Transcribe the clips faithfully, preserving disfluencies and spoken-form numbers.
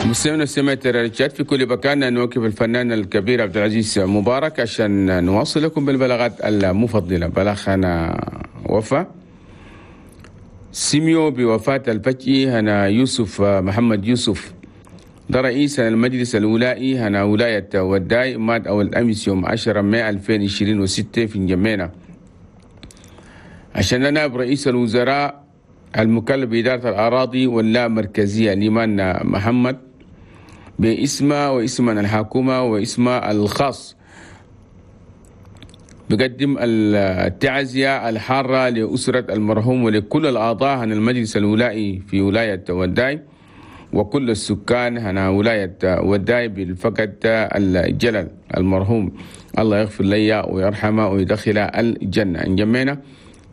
مستمعينا سمعت الرجال في كل مكان، نوقف الفنان الكبير عبد العزيز مبارك عشان نواصل لكم بالبلاغات المفضلة. بلاغنا وفاة سيميو بوفاة الفجئي هنا يوسف محمد يوسف، ده رئيس المجلس الولائي هنا ولاية وداي، مات أول أمس يوم عشرة مايو ألفين وعشرين وستة في نجمينا. عشان نائب رئيس الوزراء المكلف بإدارة الأراضي واللامركزية ليمان محمد باسمه واسم الحكومة واسمه الخاص بقدم التعزية الحارة لأسرة المرحوم ولكل الأعضاء عن المجلس الولائي في ولاية وداي وكل السكان هنا ولاية وداي بالفقد الجلل المرحوم، الله يغفر لي ويرحمه ويدخل الجنة. نجمعنا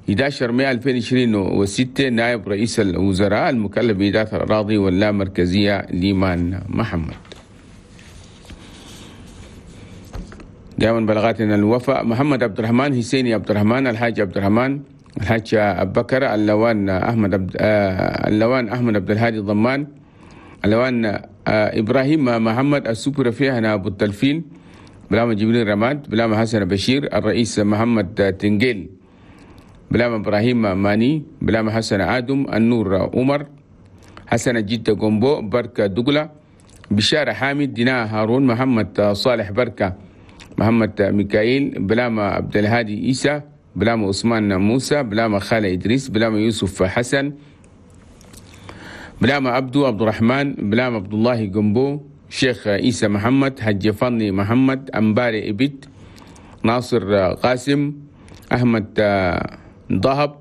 إحدى عشر مايو ألفين وعشرين وستة نائب رئيس الوزراء المكلف بإدارة الأراضي واللامركزية ليمان محمد. دائما بلغاتنا الوفاء محمد عبد الرحمن، حسيني عبد الرحمن، الحاج عبد الرحمن، الحاج أبو بكر، اللوان أحمد عبد اللوان أحمد عبد الهادي الضمان، اللوان إبراهيم محمد السوبر فيها أبو التلفين، بلامة جبريل رماد، بلامة حسن بشير، الرئيس محمد تنجيل، بلامة إبراهيم ماني، بلامة حسن آدم، النور عمر، حسن جدة جومبو، بركة دقلة، بشارة حامد، دينا هارون، محمد صالح بركة، محمد ميكائيل، بلامة عبد الهادي عيسى، بلامة عثمان موسى، بلامة خالد إدريس، بلامة يوسف حسن، بلامة عبدو عبد الرحمن، بلامة عبد الله جنبو، شيخ عيسى محمد، حج فني محمد، أمباري إبت، ناصر قاسم، أحمد ضهب،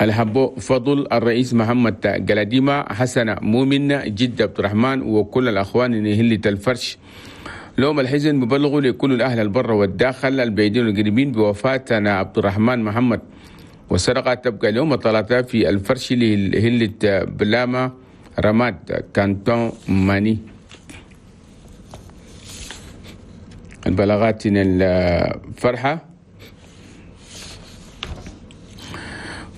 الحبو فضل، الرئيس محمد جلاديمة، حسن مؤمن، جد عبد الرحمن، وكل الأخوان هلة الفرش. لوم الحزن ببلغوا لكل الأهل البر والداخل البعيدين والقريبين بوفاتنا عبد الرحمن محمد، والسرقة تبقى اليوم الثلاثاء في الفرش لهلة بلامة رماد كانتون ماني. البلاغات الفرحة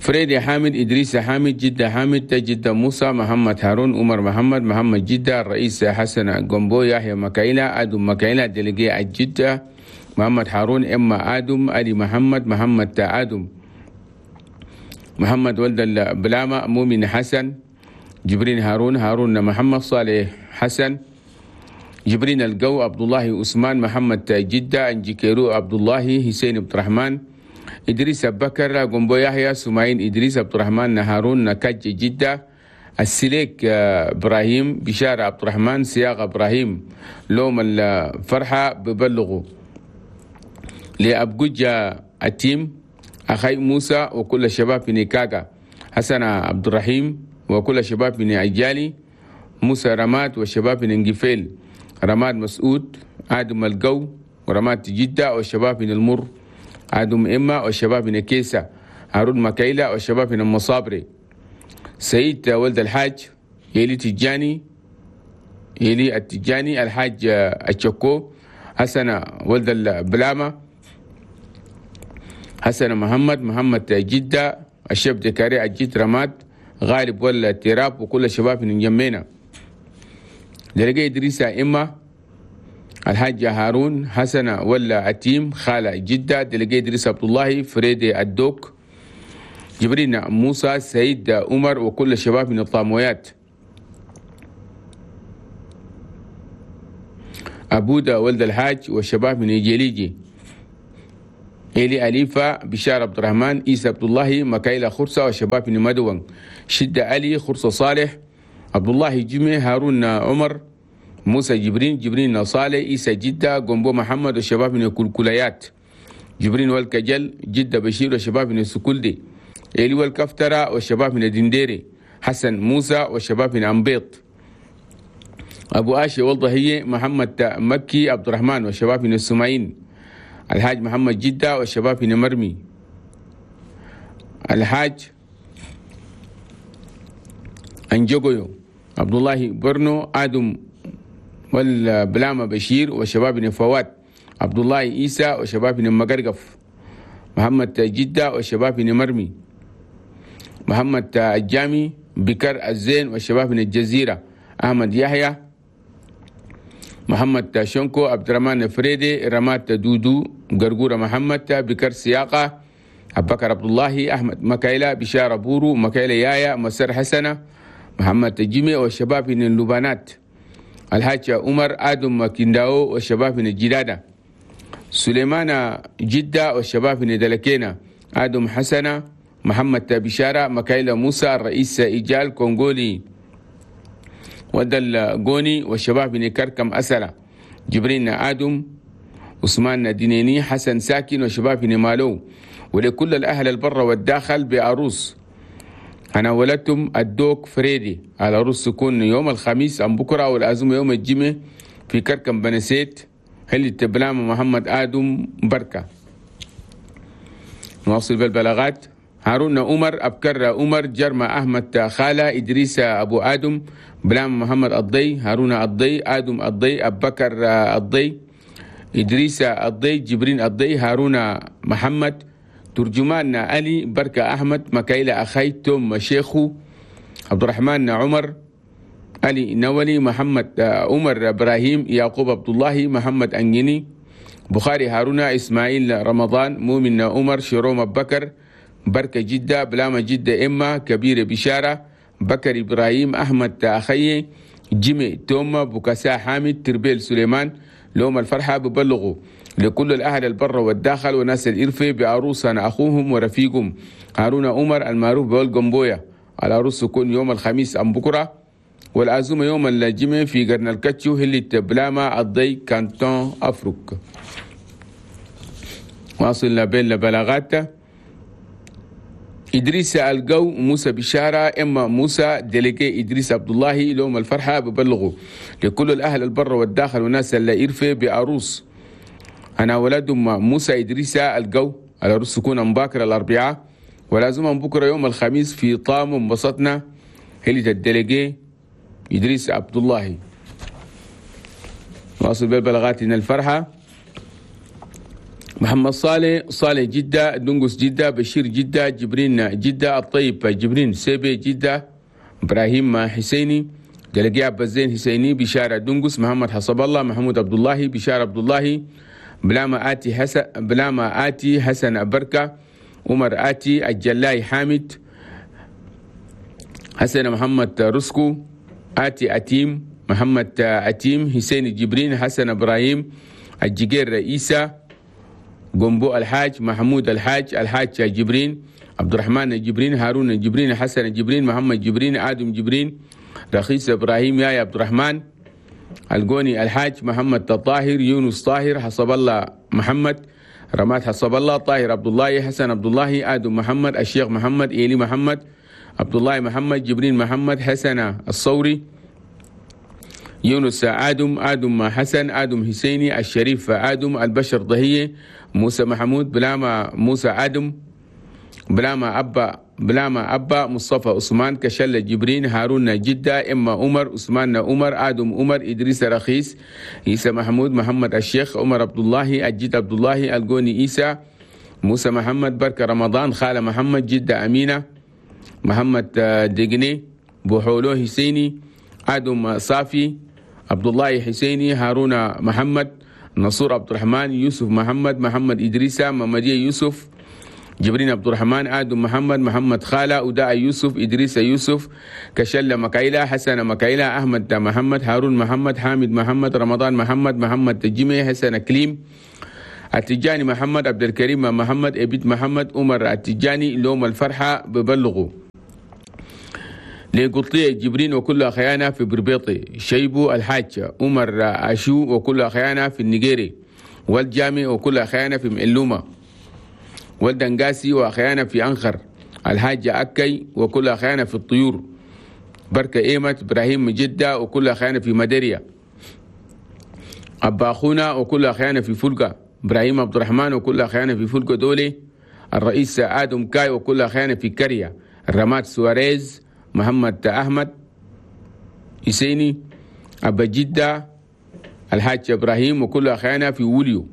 فريدي حامد، إدريس حامد، جدة حامد، جدة موسى، محمد هارون، عمر محمد، محمد جدة، الرئيس حسن جومبو، يحيى مكايلة، آدم مكايلة، دلقي الجدة، محمد هارون، إما آدم، علي محمد، محمد آدم، محمد ولد البلامة، مؤمن حسن، جبرين هارون، هارون محمد، صالح حسن، جبرين القو، عبد الله عثمان، محمد جدة، انجيكيرو عبد الله، حسين عبد الرحمن، إدريس بكر، جنبو يحيى، سماعين إدريس عبد الرحمن، هارون نكاج جدة، السليك إبراهيم، بشارة عبد الرحمن، سياق إبراهيم. لوم الفرحة ببلغوا لأبجوجة التيم، أخي موسى وكل الشباب في نيكاغا، حسن عبد الرحيم وكل الشباب من عجالي، موسى رماد والشباب من انجفيل، رماد مسعود، آدم القو ورماد جدة والشباب من المر، آدم إما والشباب من كيسة، هارون مكايلة والشباب من المصابري، سيد ولد الحاج، يلي تجاني، يلي التجاني، الحاج الشكو، حسن ولد البلامة، حسن محمد، محمد جدة، الشاب دكاري الجد رماد، غالب ولا تراب وكل الشباب من جمينا، درجة إدريس إما، الحاج هارون، حسن ولا أتيم، خالة جدة، دلقي إدريس عبد الله، فريدي الدوك، جبرين موسى، سيد عمر وكل الشباب من الطامويات، أبودا ولد الحاج والشباب من إيجيليجي، إيلي أليفة، بشار عبد الرحمن، إيسى عبد الله، مكايلة خرصة والشباب من مدون، شدة علي، خرصة صالح، عبد الله جمي، هارون عمر، موسى جبرين، جبرين صالح، إيسى جدة، جنبو محمد والشباب من الكلكليات، جبرين والكجل، جدة بشير والشباب من السكولدي، إيلي والكفترة والشباب من الدنديري، حسن موسى والشباب من أنبيط، أبو آشي والضهية، محمد مكي عبد الرحمن والشباب من السمعين، الحاج محمد جدة والشباب من مرمي، الحاج أنجوغيو، عبد الله برنو، آدم والبلامة بشير والشباب من فواد، عبد الله عيسى والشباب من مقرقف، محمد جدة والشباب من مرمي، محمد الجامي، بكر الزين والشباب من الجزيرة، أحمد يحيى محمد شنكو عبد الرحمن فريدي رمات دودو قرقورة محمد بكر سياقة أبو بكر عبد الله أحمد مكايلة بشارة بورو مكايلة يايا مسر حسنة محمد جيمي والشباب من اللبانات الحاج عمر آدم كنداو والشباب من الجدادة سليمان جدة والشباب من دلكينا آدم حسنة محمد بشارة مكايلة موسى الرئيس إيجال كونغولي ودل غوني والشباب من كركم أسرة جبرين آدم عثمان دينيني حسن ساكن وشباب من مالو. ولكل الأهل البر والداخل بعروس أنا ولدتم الدوك فريدي على عروس تكون يوم الخميس أم بكرة والأزمة يوم الجمعة في كركم بنسيت هل التبلام محمد آدم بركة. نواصل بالبلاغات. هارون عمر أبكر عمر جرمى أحمد خالة إدريس أبو آدم بلام محمد الضي هارون الضي آدم الضي أبكر الضي إدريس الضي جبرين الضي هارون محمد ترجمان علي بركة أحمد مكايلة أخي توم شيخو عبد الرحمن عمر علي نولي محمد عمر إبراهيم يعقوب عبد الله محمد أنجني بخاري هارون إسماعيل رمضان مؤمن عمر شيروم بكر بركة جدة بلامة جدة إما كبير بشارة بكر إبراهيم أحمد أخي جيمي توما بوكاسا حامد تربيل سليمان. لهم الفرحة ببلغوا لكل الأهل البر والداخل وناس الإرفة بعروسنا أخوهم ورفيقهم هارون عمر المعروف بالجنبوية. العروس تكون يوم الخميس أم بكرة والعزومة يوم الجمعة في قرن الكتشو هلي بلاما الضي كانتون أفريق. واصلنا بين البلاغات. إدريس الجو موسى بشارة إما موسى ديليجي إدريس عبد الله لهم الفرحة ببلغوا لكل الأهل البر والداخل وناس اللي إرفة بعروس أنا ولد موسى إدريس الجو العروس تكون مباكر الأربعاء ولازم بكرة يوم الخميس في طام وانبسطنا هلي الديليجي إدريس عبد الله. واصل بالبلاغات إن الفرحة. محمد صالح صالح جدة دنقس جدة بشير جدة جبرين جدة الطيب جبرين سيبي جدة إبراهيم حسيني دلقي عبد الزين حسيني بشارة دنقس محمد حسب الله محمود عبد الله بشارة عبد الله بلاما آتي حسن بلاما آتي حسن بركة عمر آتي الجلاي حامد حسن محمد رسكو آتي أتيم محمد أتيم حسين جبرين حسن إبراهيم الجير رئيسة جنبو الحاج محمود الحاج الحاج جبرين عبد الرحمن جبرين هارون جبرين حسن جبرين محمد جبرين آدم جبرين رخيص إبراهيم يا عبد الرحمن الجوني الحاج محمد الطاهر يونس طاهر حسب الله محمد رماد حسب الله طاهر عبد الله حسن عبد الله آدم محمد الشيخ محمد إيلي محمد عبد الله محمد جبرين محمد حسن الصوري يونس آدم آدم حسن آدم حسيني الشريف آدم البشر ضهية موسى محمود بلاما موسى آدم بلاما أبا بلاما أبا مصطفى عثمان كشل جبرين هارون جدة إما عمر عثمان عمر آدم عمر إدريس رخيص عيسى محمود محمد الشيخ عمر عبد الله الجد عبد الله الجوني عيسى موسى محمد بركة رمضان خالة محمد جدة أمينة محمد دقني بوحولو حسيني آدم صافي عبد الله حسيني هارون محمد نصور عبد الرحمن يوسف محمد محمد إدريسة ممدية يوسف جبرين عبد الرحمن آدم محمد محمد خالة أداء يوسف إدريس يوسف كشلة مكايلة حسن مكايلة أحمد محمد هارون محمد حامد محمد رمضان محمد محمد تجمي حسن كليم التجاني محمد عبد الكريم محمد إبيد محمد عمر التجاني لوم الفرحة ببلغوا لقطية جبرين وكل أخيانا في بربيطي شيبو الحاج عمر أشو وكل أخيانا في النيجيري والجامي وكل أخيانا في مئلومة والدنقاسي وأخيانا في أنخر الحاج أكي وكل أخيانا في الطيور بركة إيمة إبراهيم جدة وكل أخيانا في مدريا أبا أخونا وكل أخيانا في فلقة إبراهيم عبد الرحمن وكل أخيانا في فلقة دولي الرئيس آدم كاي وكل أخيانا في كريا الرماد سواريز محمد أحمد حسيني أبا جدة الحاج إبراهيم وكل أخيانا في وليو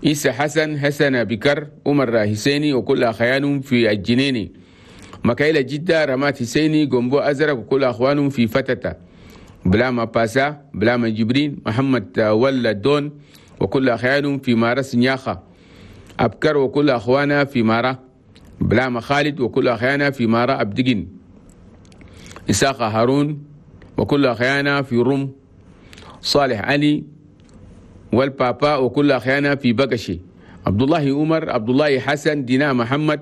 عيسى حسن حسن بكر عمر حسيني وكل أخيانهم في الجنيني مكايلة جدة، رمات حسيني، جنبو أزرق وكل أخوانهم في فتتة، بلاما باسا، بلاما جبرين، محمد ولا دون وكل أخوانهم في مارس نياخة، أبكر وكل أخوانا في مارا، بلاما خالد وكل أخيانا في مارا أبدقين، إساق هارون وكل أخيانا في روم، صالح علي والبابا وكل أخيانا في بقشي، عبد الله عمر، عبد الله حسن، دينا محمد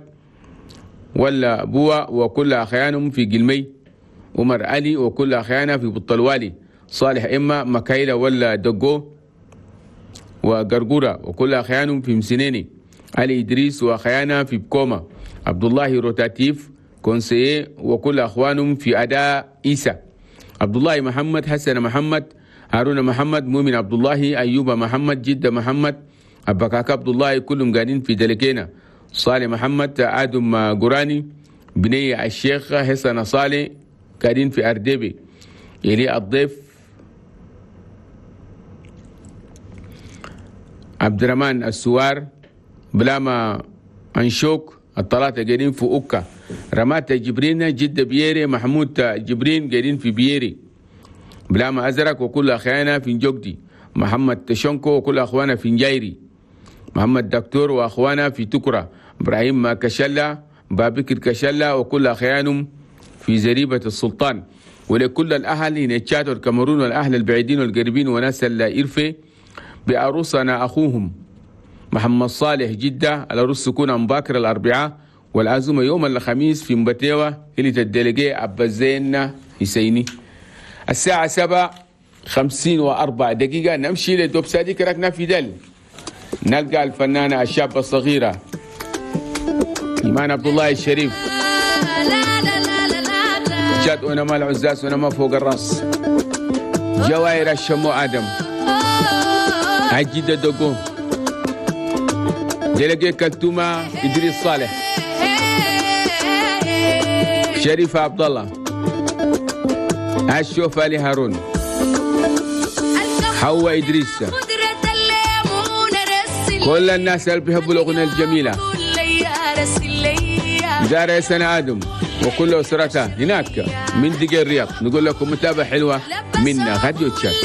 ولا بوا وكل أخيانهم في قلمي، عمر علي وكل أخيانا في بطلوالي، صالح إما مكايلة ولا دقو وقرقورة وكل أخيانهم في مسنيني، علي إدريس وأخيانا في بكوما، عبد الله روتاتيف كونسيه وكل أخوانهم في أداء إيسا، عبد الله محمد، حسن محمد، هارون محمد، مؤمن عبد الله، أيوب محمد، جدة محمد، أبكاك عبد الله كلهم قاعدين في دلكينا، صالح محمد، آدم قراني، بني الشيخ حسن صالح قاعدين في أردبي، إلي الضيف عبد الرحمن السوار، بلاما أنشوك الثلاثة قاعدين في أوكا، رمات جبرين، جدة بييري، محمود جبرين قاعدين في بييري، بلاما أزرق وكل أخيانا في جوجدي، محمد تشونكو وكل أخوانا في نجايري، محمد دكتور وأخوانا في تكرة، إبراهيم كشلة، بابكر كشلة وكل أخيانهم في زريبة السلطان. ولكل الأهل هنا تشاد والكاميرون والأهل البعيدين والقريبين وناس الإرفي بعروسنا أخوهم محمد صالح جدة، العروس تكون مباكر الأربعاء والعزومة يوم الخميس في مبتيوة اللي تدلقي أبا زين حسيني. الساعة سبعة خمسين وأربع دقيقة نمشي لدوب صديق ركنا في دل، نلقى الفنانة الشابة الصغيرة إيمان عبد الله الشريف، جات ونما العزاز ونما فوق الراس، جواهر الشمو آدم، عجيدة دوغو، دلقي كلتومة إدريس صالح، شريفة عبد الله، الشوف علي هارون، حواء إدريس، كل الناس اللي بيحبوا الأغنية الجميلة، دار سنة آدم وكل أسرتها هناك من دقي الرياض. نقول لكم متابعة حلوة من راديو تشاد.